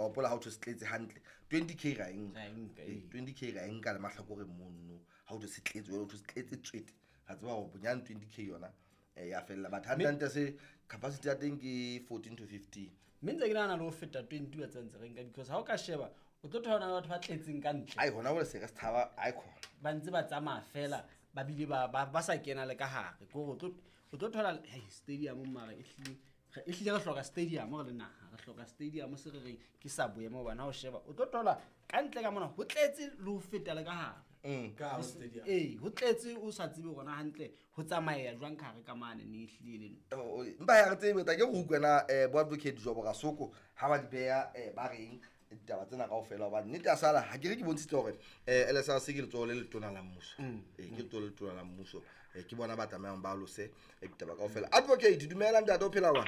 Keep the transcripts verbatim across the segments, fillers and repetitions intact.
Wa hopola ha o thwe se tletse hantle twenty k ra e nka. Ra e nka, Ee, ee. twenty k ra e nka le mahlakoreng mono. Ha o thwe se tletse, jwale o thwe se tletse tswete. Ra tseba hore bonyane twenty k yona, eh, ya fella. But hantle hantle se capacity ya teng ke fourteen to fifteen. Mme ntse ke nahana le ho feta twenty wa tsa ntse re nka, because ha o ka sheba o tlo thola batho ba tletseng ka ntle. Ai, hona jwale se re se tshaba, ai khona. Ba ntse ba tsamaya fela, ba bile ba, ba, ba sa kena le ka hare. Ke hore o tlo, o tlo thola, hei, stadium mara e hlile, re, e hlile re hloka stadium re le naha, re hloka stadium se re reng ke sa boemo hobane ha o sheba, o tlo thola ka ntle ka mona ho tletse le ho feta le ka hare. Mm. Ka hare ho stadium. Ee, ho tletse o sa tsebe hore na hantle ho tsamaya jwang ka hare ka mane, ne e hlile e le ntho. Oh, oh, mpa ya re tsebe, tla ke re utlwe na, eh, bo advocate Jobo Rasoko ha ba di beha, eh, ba reng ditaba tsena kaofela, hobane nnete ya sala ha ke re ke bontshitse hore, eh, L S R C ke letsoho le letona la mmuso. Mm. Eh, ke letsoho le letona la mmuso. Eh, ke bona ba tlamehang ba alose, eh, ditaba kaofela. Advocate, dumela ntate, o phela jwang?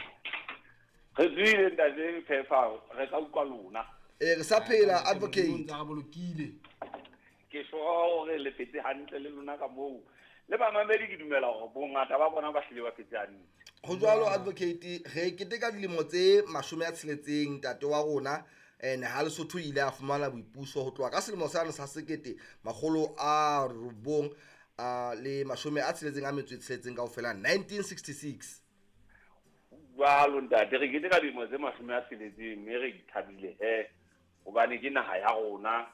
Re tswile ntate Phefa, re tla utlwa lona. Eh, re sa phela, Ah, advocate. Modimo o ntse a re bolokile. Ke sure hore le phetse hantle le lona ka moo. Le bamamedi ke dumela hore bongata ba bona ba hlile ba phetse hantle. Ho jwalo advocate, re keteka dilemo tse mashome a tsheletseng ntate wa rona, eh, ha Lesotho ile a fumana boipuso ho tloha ka selemo sane sa sekete makgolo a robong, a le mashome a tsheletseng a metso e tsheletseng kaofela, nineteen sixty-six. Jwalo ntate, re keteka dilemo tse mashome a tsheletseng mme re ithabile he, hobane ke naha ya rona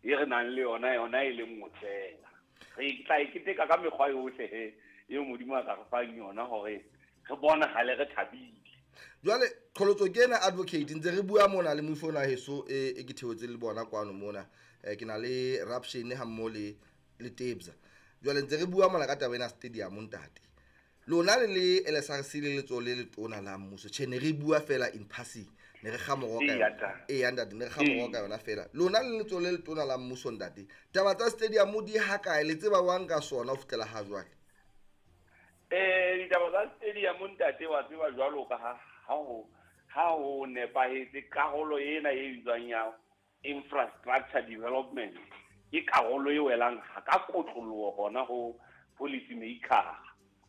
e re nang le yona, yona e le nngwe fela. Re tla e keteka ka mekgwa yohle he eo Modimo a ka re fang yona hore re bonahale re thabile. Jwale qholotso ke ena advocate, ntse re bua mona le moifo ona heso e, e ke theotse le bona kwano mona. Eh, ke na le Raption ha mmoho le, le Tebza. Jwale ntse re bua mona ka taba ena stadium ntate. Lona le le L S R C le letsoho le letona la mmuso. Tjhe, ne re bua fela in passing, ne re kga moroka Ee, yona. ntate. Ee, ntate, ne re kga moroka Ee. yona fela. Lona le letsoho le letona la mmuso ntate. Taba tsa stadium di ha kae, le tseba jwang ka sona ho fihlela ha jwale? Eh, ditaba tsa stadium ntate wa tseba jwalo ka ha, ha ho, ha ho nepahetse karolo ena e bitswang ya infrastructure development ke karolo e welang ha ka kotloloho hona ho policy maker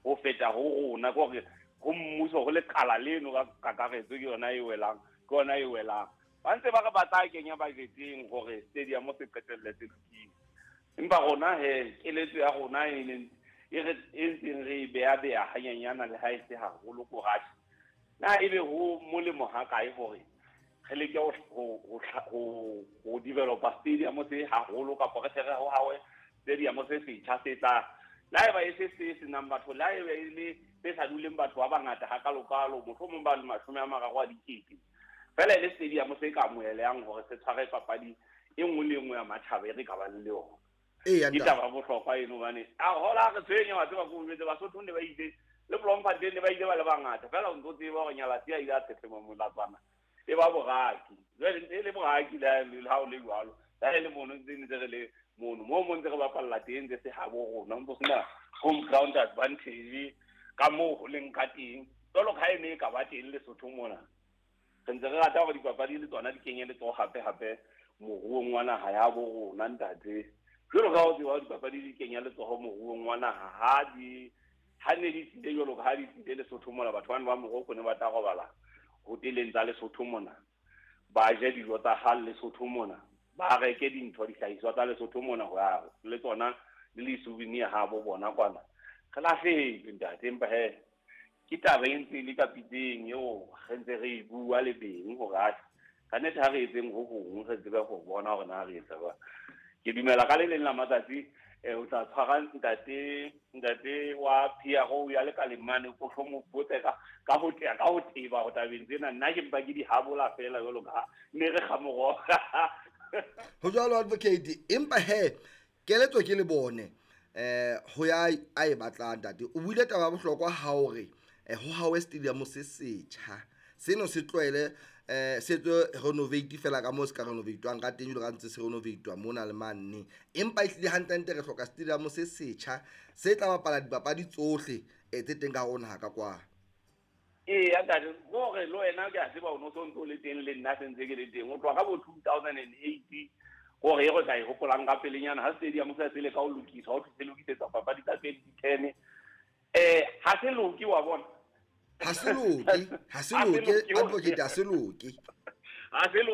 ho feta ho rona, ke hore ho mmuso ho lekala leno ka kakaretso ke yona e welang, ke yona e welang. Ba ntse ba re ba tla kenya budgeteng hore stadium se qetelle se lokile, empa rona he keletso ya rona e leng e re e ntseng re e beha beha hanyenyana le ha e se haholo ko ratjhe. Na ebe ho molemo ha kae hore re leke ho, ho, ho, ho, ho developa stadium se haholo kapa re tle re ho hawe stadium se setjha se tla, le haeba e se se senang batho, le haeba e le se sa duleng batho ba bangata hakalokalo, mohlomong ba le mashome a mararo a dikete, fela e le stadium se ka amohelehang hore se tshware papadi e nngwe le e nngwe ya matjhaba e re ka bang le yona. Ee, ya Ke ntate. taba ya bohlokwa eno hobane, a hola re tshwenya wa tseba ko jwetse, Basotho ne ba ile, le Bloemfontein ne ba ile ba le bangata, fela o ntso tseba hore Nyalatsi a ile a tshetlema molatswana e ba boraki. Jwale ntse e le boraki le ha, le ha o le jwalo, le ha e le mono ntse ntse re le mono, moo mo ntse re bapalla teng ntse se habo rona, ho ntso sena home ground advantage ka moo ho leng ka teng. Jwalo ka ha e ne e ka ba teng Lesotho mona, re ntse re rata hore dipapadi le tsona di kenye letsoho hape hape moruong wa naha ya bo rona ntate. Jwalo ka ha o tseba hore dipapadi di kenya letsoho moruong wa naha, ha di, ha ne di tlile jwalo ka ha di tlile Lesotho mona, batho bana ba Morocco ne ba tla robala hoteleng tsa Lesotho mona, ba je dijo tsa ha Lesotho mona, ba reke dintho dihlahiswa tsa Lesotho mona ho ya le tsona le di-souvenir ha bo bona kwana. Re lahlehetswe ntate, empa he ke taba e ntse e le ka pitseng eo re ntse re e bua le beng hore atjhe, ka nnete ha re etseng ho hong re tsebe ho bona hore na re etsa jwang. Ke dumela ka le leng la matsatsi, eh, o tla tshwara ntate, ntate wa P R O ya lekaleng mane, o tlo mo botse ka, ka ho tea, ka ho teba ho tabeng tsena. Nna ke mpa ke di habola fela jwalo ka ha ne re kga moroho. Ho jwalo advocate, empa he keletso ke le bone, eh, ho ya a e batlang ntate. O buile taba ya bohlokwa ha o re, eh, ho hawe stadium se setjha. Seno se tlohele, eh, se tswe renovate fela ka moo se ka renovatewang ka teng, jwalo ka ntse se renovatwa mona le mane. Empa ehlile hantlentle re hloka stadium se setjha se tla bapala dipapadi tsohle, eh, tse teng ka hare ho naha ka kwano. Ee, ya ntate, hore le wena ke a tseba o no so ntso le teng le nna se ntse ke le teng. Ho tloha ka bo two thousand and eight, hore e re tla e hopolang ka pelenyana ha stadium se se le ka ho lokiswa, ho thwe se lokisetsa papadi tsa twenty ten. Eh, ha se loke wa bona. Ha se loke, ha se Ha se loke, loke, advocate, ha se loke. Ha se loke.